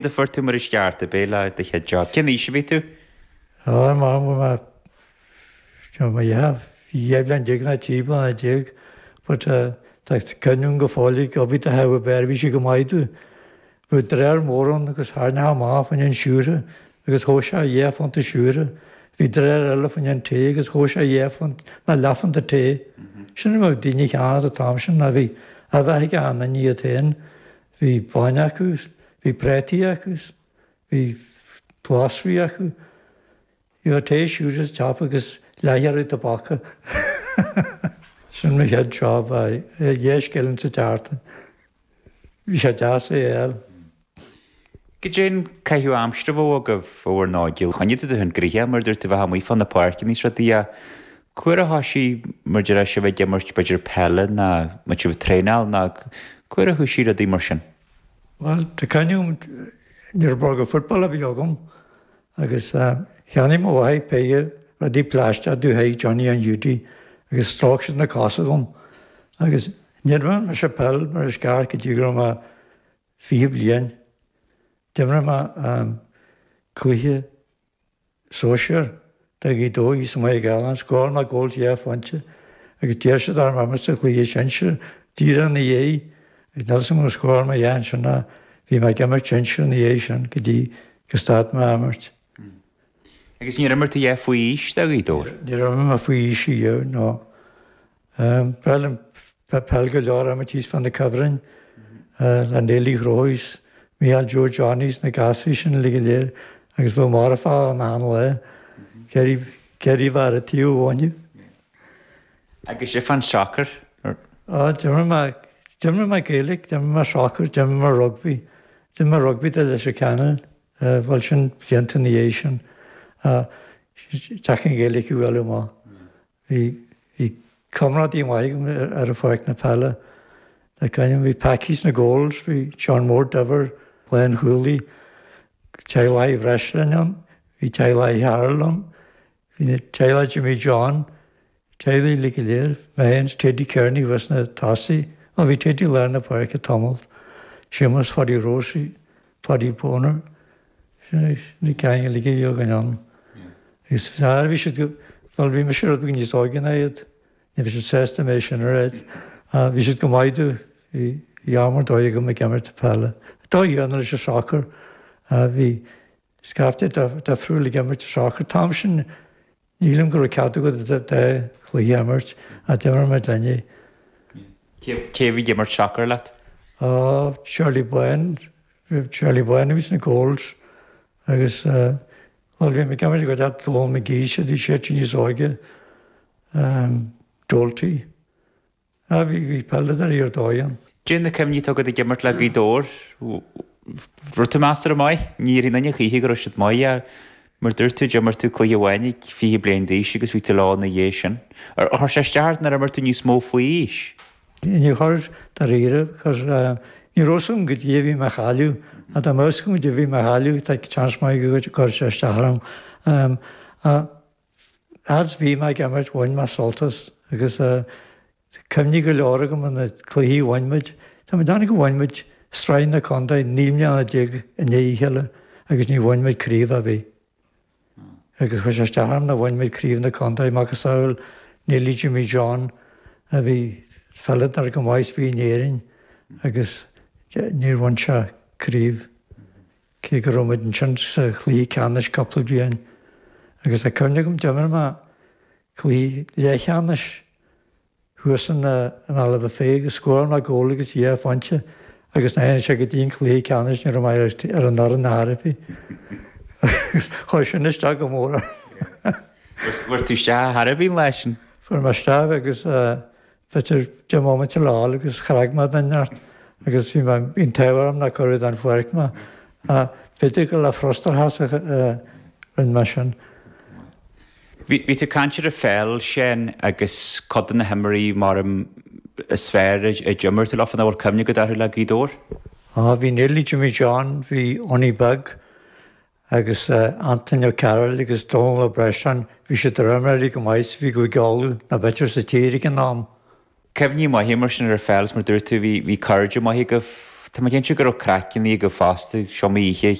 A fuair tú mar is ceart, ab é le do chéad job? Cén aois a bhí tú? Á, mar bhí mé, bhí mé 12 bhliain nó 13 bliana but tá cuimhne agam go fóill ag obair do Theach Bear, bhí sé go maith domh. Bhí drár mór ann agus tharraingeofá amach fá choinne an siúcra agus thóg sé dhá phunta siúcra. Bhí drár eile fá choinne an tae agus thóg sé dhá phunt nó leathphunta tae. Sin a bheadh daoine a cheannacht an t-am sin ná bhí a bheith ag achan duine iad féin. Bhí bainne acu, bhí prátaí acu, bhí glasraí acu. Bhí tae siúcra sa tsiopa agus leathghearradh tobaca. Sin mo chéad job, dhá scilling sa tseachtain. Bhí sé deas é a fháil. Goidé an caitheamh aimsire a bheadh agaibh i bhur n-óige? Choinnigh tú tú féin gnoitheach mar a dúirt tú bheith amuigh fá na páirceanna is rudaí ach cá huair a thoisigh mar a déarfá sibh ag imirt b'fhéidir peile ná muid sibh ag traenáil ná cá huair a thoisigh rudaí mar sin? Bhuel, tá cuimhne agam ní raibh bróga football ar bith agam Agus cheannaigh mo mháthair péire rudaí plaisteach domh thigh Johnny an Hiúdaí agus stróic siad na cosa dhom. Agus níor imir mise peil mar is ceart go dtí go raibh mé 20 bliain. D'imir mé cluiche sóisear do Ghaoth Dobhair thíos i Maigh Gallán, scóráil mé goal dhá phointe agus d'iarr siad orm imirt sa chluiche sinsir díreach ina dhiaidh. Agus níl 'fhios agam ar scóráil mé a dhath ansin ach bhí mé ag imirt sinsir ina dhiaidh sin go dtí gur stad mé ag imirt. Agus níor imir tú a dhath faoi aois do Ghaoth Dobhair? Níor imir mé faoi aois ariamh, no. B'fhearr liom peil go leor a imirt thíos fá na cuibhrinn le Neilí Chróis is Mícheál Joe Johnny is na gasraí sin uilig go léir agus bheadh marfach ann achan lá. Ceithre bheith ar an taobh amháin. Agus fán sacar? Á, d'imir mé, d'imir mé Gaelic, d'imir mé sacar, d'imir mé rugbaí. D'imir mé rugbaí do Leitir Ceanainn, bhuel sin blianta ina dhiaidh sin. Deacair an Ghaeilge a bhualadh amach. Bhí, bhí comrádaí maith agam ar an pháirc na peile. Tá cuimhne agam, bhí Packy sna goals, bhí John Mór Duibhir, lánchúlaí, teaghlach Uí Bhreisleáin ann, bhí teaghlach Uí Chearúil ann, Bhí teaghlach Jimmy John, teaghlaigh uilig go léir, mé féin is Teddy Kearney thuas sna tosaí, bhuel bhí Teddy i lár na páirce tamall, Séamus Pháidí Rósaí, Pháidí Boner, sin na gang uilig a bhí againn ann. Agus bhí siad go, bhuel bhí mise rud beag níos óige ná iad, ní bhí siad sásta mé sin a rá, ach bhí siad go maith domh, bhí am ar dóigh agam ag imirt peile. Dóigh chéanna leis an sacar, bhí Scaifte difriúil ag imirt sacair. An t-am sin ní shílim go raibh cead agat dá chluiche a imirt ach d'imir muid linne. Cé a bhí ag imirt sacair leat? Á, Charlie Bán, Charlie Bán a bhí sna goals agus bhuel bhí mé ag imirt i gcuid Donal McGee siad bhí siad níos óige, Doalty. Ah, bhí, bhí peileadóirí ar dóigh ann. Cad é na cuimhní atá agat ag imirt le Gaoth Dobhair. Raibh tú measartha maith? Ní déarfaidh aon duine choíche go raibh siad maith ach mar dúirt tú, d'imir tú cluiche amháin ag 20 bliain d'aois agus bhí tú leo ina dhiaidh sin. Ar chuir sé isteach ort nár imir tú níos mó faoi aois? Níor chuir, dáiríre, cos ní raibh fhios agam goidé a bhí mé a chailleadh. Ach dá mbeadh fhios agam goidé a bhí mé a chailleadh, tá seans maith go gcuirfeadh sé isteach orm. Ach Fhad is bhí mé ag imirt bhain mé sult as agus cuimhní go leor agam ar na cluichí a bhain muid. Tá mé ag déanamh go bhain muid sraith na contae 19 mbliana i ndiaidh a chéile agus ní bhain muid craobh ar bith. Agus chuir sé isteach orm nár bhain muid craobh na contae, macasamhail Neilí Jimmy John a bhí peileadóir chomh maith is bhí in Éirinn agus níor bhain sé craobh. Cé go raibh muid ansin sa chluiche ceannais cúpla bliain agus tá cuimhne agam d'imir mé cluiche leathcheannais thuas in mBealach Féich agus scóráil mé gól agus dhá phointe agus nuair a tháinig sé go dtí an cluiche ceannais ní raibh mé ar an fhoireann ar chor ar bith. Agus chuir sin isteach go mór orm. Bhfuair tú isteach ar chor ar bith an lá sin? Fuair mé isteach agus B'fhéidir 10 mbomaite le fháil agus chreag mé den neart agus bhí mé, bhí an t-ádh orm nár cuireadh den pháirc mé. B'fhéidir gur le frustrachas a rinne mé sin. Bhí tú ag caint ar an pheil, Seán, agus cuid de na himreoirí mar is fearr a d'imir tú leofa, an bhfuil cuimhne agat orthu le Gaoth Dobhair? Á, bhí Neilí Jimmy John, bhí Owney Beag, Agus Antaine Ó Cearúil agus Dónal Ó Breisleáin, bhí siad ar imreoirí go maith is bhí Cúige Uladh ná b'fhéidir sa tír ag an am. Cuimhní maithe mar sin ar an pheil is mar dúirt tú bhí bhí cairde maithe agaibh. Tá mé cinnte go raibh craic agaibh fosta, seomraí oíche.